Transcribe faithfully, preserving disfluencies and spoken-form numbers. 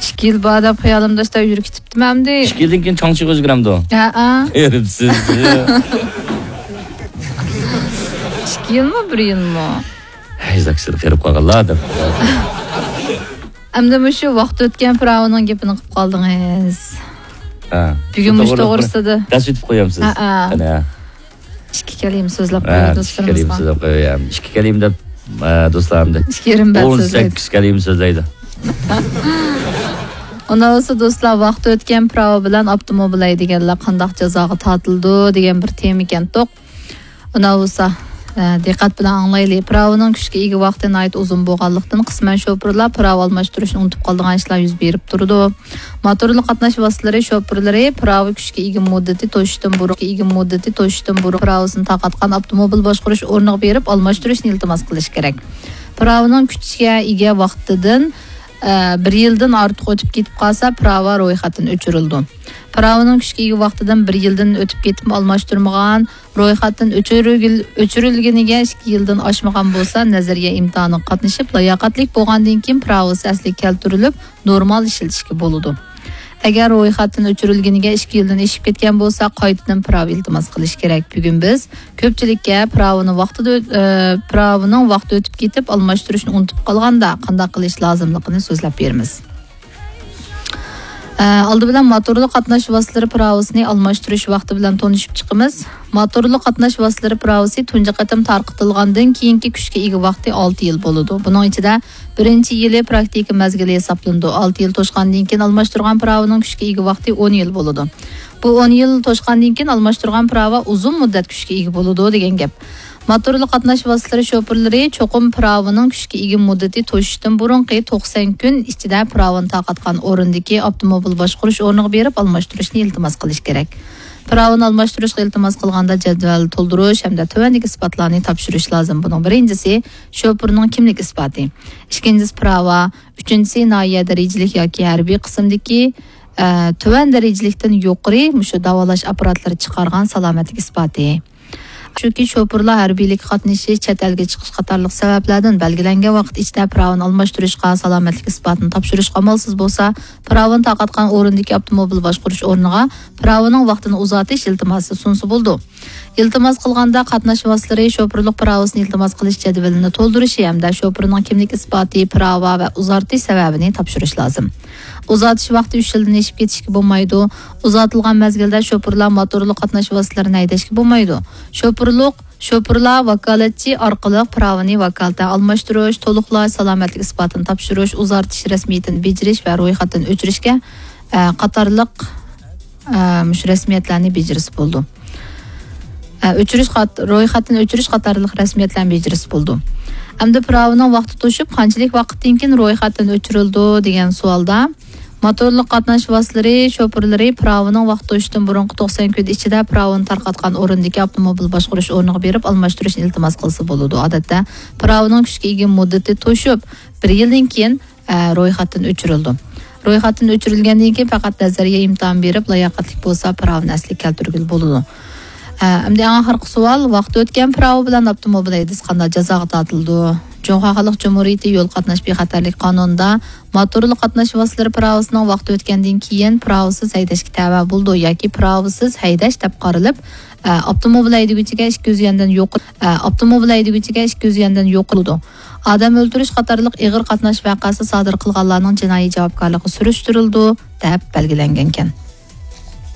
ئىككى يىل بار دەپ خىيالىمدا شۇنداق يۈرۈپ كېتىپتىمەن ئەمدى. ئىككى يىلدىن كېيىن چاڭچىغا ئۆزگىرەمدۇ؟ ھەئە. ھېرىپسىز. ئىككى يىلمۇ، بىر يىلمۇ؟ ھەي، زاكسىدا قېرىپ قالغانلار دەپ. ئەمدى مۇشۇ ۋاقىت ئۆتكەن پىراۋىنىڭ گېپىنى قىلىپ قالدىڭىز. ھە. بۈگۈن مۇشۇ توغرىلىق توغرىسىدا دەرس ئۆتۈپ قويامسىز؟ ھەئە. قېنى، ھە. ئىككى كەلىمە سۆزلەپ ھە، قويۇڭ ئىككى كەلىمە دوستلىرىمىزغا. سۆزلەپ قوياي. ئىككى كەلىمە دەپ، ئە، دوستلار ئەمدى. ئىككى يېرىم بەت ئون سۆزلەيدۇ. سەككىز كەلىمە سۆزلەيدۇ. ئۇنداق بولسا دوستلار، ۋاقتى ئۆتكەن پىراۋا بىلەن ئاپتوموبىل ھەيدىگەنلەر قانداق جازاغا تارتىلىدۇ دېگەن بىر تېما ئىكەن توق. ئۇنداق بولسا، ئە، دىققەت بىلەن ئاڭلايلى. پىراۋىنىڭ كۈچكە ئىگە ۋاقتى ناھايىتى ئۇزۇن بولغانلىقتىن، قىسمەن شوپۇرلار پىراۋا ئالماشتۇرۇشنى ئۇنتۇپ قالىدىغان ئىشلار يۈز بېرىپ تۇرىدۇ. موتورلۇق قاتناش ۋاسىتىلىرى شوپۇرلىرى پىراۋا كۈچكە ئىگە مۇددىتى توشۇشتىن بۇرۇن، ئىگە مۇددىتى توشۇشتىن بۇرۇن پىراۋىسىنى تارقاتقان ئاپتوموبىل باشقۇرۇش ئورنىغا بېرىپ ئالماشتۇرۇشنى ئىلتىماس قىلىشى كېرەك. پىراۋىنىڭ كۈچكە ئىگە ۋاقتىدىن، ئە، بىر يىلدىن ئارتۇق ئۆتۈپ كېتىپ قالسا، پىراۋا رويخەتتىن ئۆچۈرۈلىدۇ. پىراۋىنىڭ كۈچكە ئىگە ۋاقتىدىن بىر يىلدىن ئۆتۈپ كېتىپمۇ ئالماشتۇرمىغان، رويخەتتىن ئۆچۈرۈلگىل-، ئۆچۈرۈلگىنىگە ئىككى يىلدىن ئاشمىغان بولسا، نەزەرىيە ئىمتىھانىغا قاتنىشىپ، لاياقەتلىك بولغاندىن كېيىن پىراۋىسى ئەسلىگە كەلتۈرۈلۈپ، نورمال ئىشلىتىشكە بولىدۇ. ئەگەر رويخەتتىن ئۆچۈرۈلگىنىگە ئىككى يىلدىن ئېشىپ كەتكەن بولسا، قايتىدىن پىراۋا ئىلتىماس قىلىش كېرەك. بۈگۈن بىز كۆپچىلىككە پىراۋىنى ۋاقتىدا ئۆت-، ئە، پىراۋىنىڭ ۋاقتى ئۆتۈپ كېتىپ، ئالماشتۇرۇشنى ئۇنتۇپ قالغاندا قانداق قىلىش لازىملىقىنى سۆزلەپ بېرىمىز. ئە، ئالدى بىلەن موتورلۇق قاتناش ۋاسىتىلىرى پىراۋىسىنى ئالماشتۇرۇش ۋاقتى بىلەن تونۇشۇپ چىقىمىز. موتورلۇق قاتناش ۋاسىتىلىرى پىراۋىسى تۇنجى قېتىم تارقىتىلغاندىن كېيىنكى كۈچكە ئىگە ۋاقتى ئالتە يىل بولىدۇ. بۇنىڭ ئىچىدە بىرىنچى يىلى پراكتىكا مەزگىلى ھېسابلىنىدۇ. ئالتە يىل توشقاندىن كېيىن ئالماشتۇرغان پىراۋىنىڭ كۈچكە ئىگە ۋاقتى ئون يىل بولىدۇ. بۇ ئون يىل توشقاندىن كېيىن ئالماشتۇرغان پىراۋا ئۇزۇن مۇددەت كۈچكە ئىگە بولىدۇ دېگەن گەپ. موتورلۇق قاتناش ۋاسىتىلىرى شوپۇرلىرى چوقۇم پىراۋىنىڭ كۈچكە ئىگە مۇددىتى توشۇشتىن بۇرۇنقى توقسان كۈن ئىچىدە پىراۋىنى تارقاتقان ئورۇندىكى ئاپتوموبىل باشقۇرۇش ئورنىغا بېرىپ ئالماشتۇرۇشنى ئىلتىماس قىلىشى كېرەك. پىراۋىنى ئالماشتۇرۇشقا ئىلتىماس قىلغاندا جەدۋەل تولدۇرۇش ھەمدە تۆۋەندىكى ئىسپاتلارنى تاپشۇرۇش لازىم. بۇنىڭ بىرىنچىسى شوپۇرنىڭ كىملىك ئىسپاتى. ئىككىنچىسى پىراۋا. ئۈچىنچىسى ناھىيە دەرىجىلىك ياكى ھەربىي قىسىمدىكى، ئە، تۆۋەن دەرىجىلىكتىن يۇقىرى مۇشۇ داۋالاش ئاپپاراتلىرى چىقارغان سالامەتلىك ئىسپاتى. چۈنكى شوپۇرلار ھەربىيلىككە قاتنىشىش، چەت ئەلگە چىقىش قاتارلىق سەۋەبلەردىن بەلگىلەنگەن ۋاقىت ئىچىدە پىراۋىنى ئالماشتۇرۇشقا، سالامەتلىك ئىسپاتىنى تاپشۇرۇشقا ئامالسىز بولسا، پىراۋىنى تارقاتقان ئورۇندىكى ئاپتوموبىل باشقۇرۇش ئورنىغا پىراۋىنىڭ ۋاقتىنى ئۇزارتىش ئىلتىماسى سۇنسا بولىدۇ. ئىلتىماس قىلغاندا قاتناش ۋاسىتىلىرى شوپۇرلۇق پىراۋىسىنى ئىلتىماس قىلىش جەدۋىلىنى تولدۇرۇشى ھەمدە شوپۇرنىڭ كىملىك ئىسپاتى، پىراۋا ۋە ئۇزارتىش سەۋەبىنى تاپشۇرۇش لازىم. ئۇزارتىش ۋاقتى ئۈچ يىلدىن ئېشىپ كېتىشكە بولمايدۇ. ئۇزارتىلغان مەزگىلدە شوپۇرلار موتورلۇق قاتناش ۋاسىتىلىرىنى ھەيدەشكە بولمايدۇ. شوپۇرلۇق، شوپۇرلار ۋاكالەتچى ئارقىلىق پىراۋىنى ۋاكالىتەن ئالماشتۇرۇش، تولۇقلاش، سالامەتلىك ئىسپاتىنى تاپشۇرۇش، ئۇزارتىش رەسمىيىتىنى بېجىرىش ۋە رويخەتتىن ئۆچۈرۈشكە، ئە، قاتارلىق، ئە، مۇشۇ رەسمىيەتلەرنى بېجىرسە بولىدۇ. ئە، ئۆچۈرۈش قات-، رويخەتتىن ئۆچۈرۈش قاتارلىق رەسمىيەتلەرنى بېجىرسە بولىدۇ. ئەمدى پىراۋىنىڭ ۋاقتى توشۇپ، قانچىلىك ۋاقىتتىن كېيىن رويخەتتىن ئۆچۈرۈلىدۇ دېگەن سوئالدا، موتورلۇق قاتناش ۋاسىتىلىرى شوپۇرلىرى پىراۋىنىڭ ۋاقتى توشۇشتىن بۇرۇنقى توقسان كۈن ئىچىدە پىراۋىنى تارقاتقان ئورۇندىكى ئاپتوموبىل باشقۇرۇش ئورنىغا بېرىپ ئالماشتۇرۇشنى ئىلتىماس قىلسا بولىدۇ. ئادەتتە پىراۋىنىڭ كۈچكە ئىگە مۇددىتى توشۇپ، بىر يىلدىن كېيىن، ئە، رويخەتتىن ئۆچۈرۈلىدۇ. رويخەتتىن ئۆچۈرۈلگەندىن كېيىن پەقەت نەزەرىيە ئىمتىھان بېرىپ، لاياقەتلىك بولسا، پىراۋىنى ئەسلىگە كەلتۈرگىلى بولىدۇ. ئە، ئەمدى ئەڭ ئاخىرقى سوئال، ۋاقتى ئۆتكەن پىراۋا بىلەن ئاپتوموبىل ھەيدىسە قانداق جازاغا تارتىلىدۇ؟ جۇڭخۇا خەلق جۇمھۇرىيىتى يول قاتناش بىخەتەرلىك قانۇنىدا موتورلۇق قاتناش ۋاسىتىلىرى پىراۋىسىنىڭ ۋاقتى ئۆتكەندىن كېيىن پىراۋىسىز ھەيدەشكە تەۋە بولىدۇ ياكى پىراۋىسىز ھەيدەش دەپ قارىلىپ، ئە، ئاپتوموبىل ھەيدىگۈچىگە ئىككى يۈز يۈەندىن يۇقىرى، ئە، ئاپتوموبىل ھەيدىگۈچىگە ئىككى يۈز يۈەندىن يۇقىرى بولىدۇ. ئادەم ئۆلتۈرۈش قاتارلىق ئېغىر قاتناش ۋەقەسى سادىر قىلغانلارنىڭ جىنايى جاۋابكارلىقى سۈرۈشتۈرۈلىدۇ، دەپ بەلگىلەنگەنكەن.